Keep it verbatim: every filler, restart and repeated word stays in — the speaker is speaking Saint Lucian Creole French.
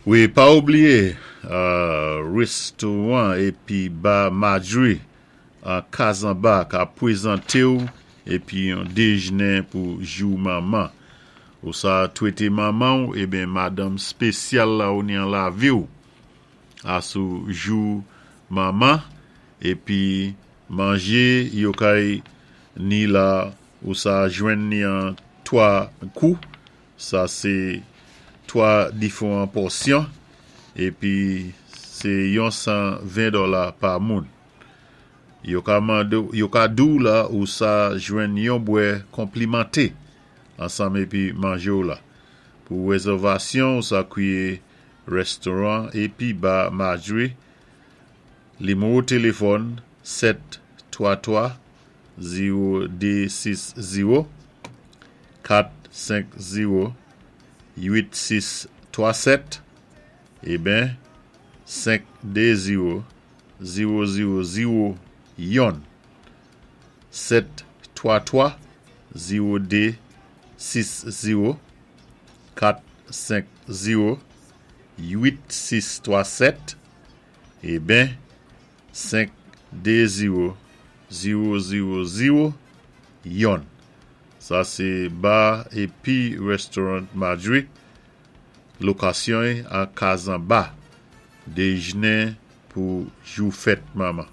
Wi, pa oubliyé, euh, restoran épi ba Marjorie an Kazanba ka pwézanté ou épi yon déjné pou jou manman. Ou sa twété manman ou, ébyen madanm spésyal la ou ni an lavi ou. Asou jou manman, épi manjé yo kay ni la ou sa jwenn ni an twa kou. Sa sé twa diféwan pòsyon épi sé yon san ven dola pa moun. Yo ka mandé, yo ka di ou la ou sa jwenn yon bwè konplimanté ansanm épi manjé ou la. Pou wézèvasyon, ou sa kwiyé restoran épi ba Marjorie nimewo téléfòn sèt twa twa zewo dé sis zewo kat senk zewo uit sis twa sèt ébyen senk dé zewo zewo zewo zewo youn sèt twa twa zewo dé sis zewo kat senk zewo uit sis twa sèt ébyen senk dé zewo zewo zewo zewo youn. Sa sé ba épi restoran Marjorie, lokasyon an Kazanba, déjné pou jou fèt manman.